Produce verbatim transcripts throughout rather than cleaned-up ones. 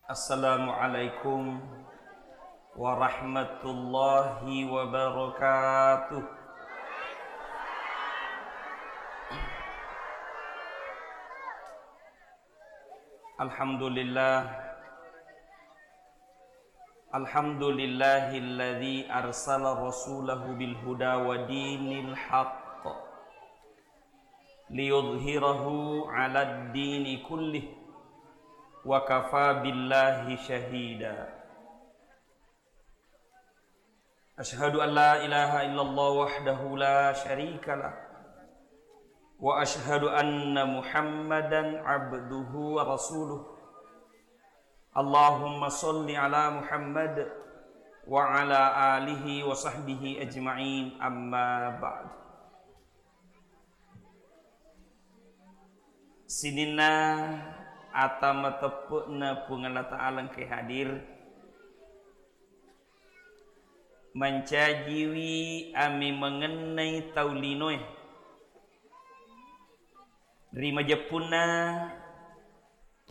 Assalamualaikum warahmatullahi wabarakatuh. Alhamdulillah. Alhamdulillahilladzi arsala rasulahu bil huda wa dinil haqq liyudhhirahu 'alad dini kullih wa kafa billahi syahida. Asyhadu an la ilaha illallah wahdahu la syarika lah. Wa asyhadu anna Muhammadan abduhu wa rasuluh. Allahumma shalli ala Muhammad wa ala alihi wa sahbihi ajma'in, amma ba'd. Sininna ata mateppe'na Puang Allah Ta'ala engkae hadir, mancajiwi amemengennai tau linoe ri majeppunna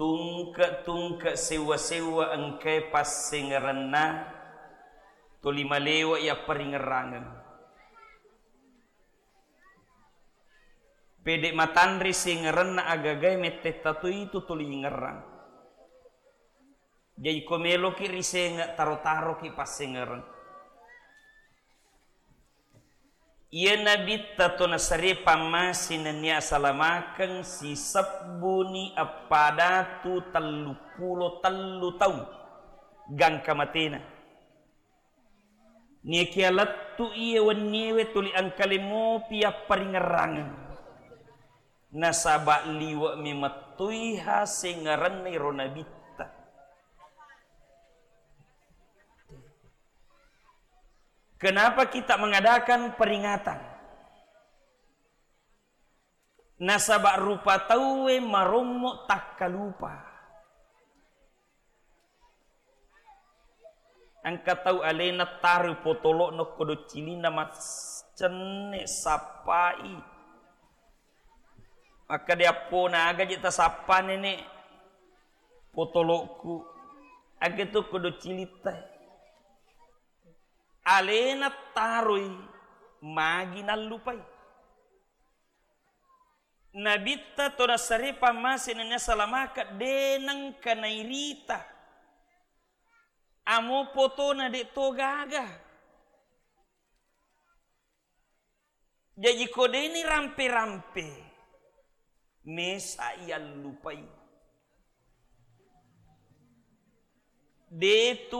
tungke-tungke sewwa-sewwa engkae passengerenna tuli malewa yapparingerrangeng. Pede matanre sengerenna agagae mettetta toi tu tuli ingerrang. Jaji ko meloki risenge taro-taroki passengereng. Iya nabitta to nasare pammase nennia asalamakeng sisebbuni eppadatu telluppulo tellu taung gangka matena. Niakia lettu iye wenniewe tuli engkale mopi yapparingerrangeng. Nasaba liwe memettui hasengerenna iro nabitta. Kenapa kita mengadakan peringatan? Nasaba rupa tauwe marommo takkalupa. Engka tau alena taroi potolo'na okko doccilinna maccenne sappai. Makkeda appona aga je tasappa nene potolo'ku. Aga tu okko doccilitta. Alena taroi magi nallupai. Nabitta to nasare pammase nennia salamaka de nengka nairita. Amo potona de to gaga. Jaji ko deni rampe-rampe, mesa iyallupai. De tu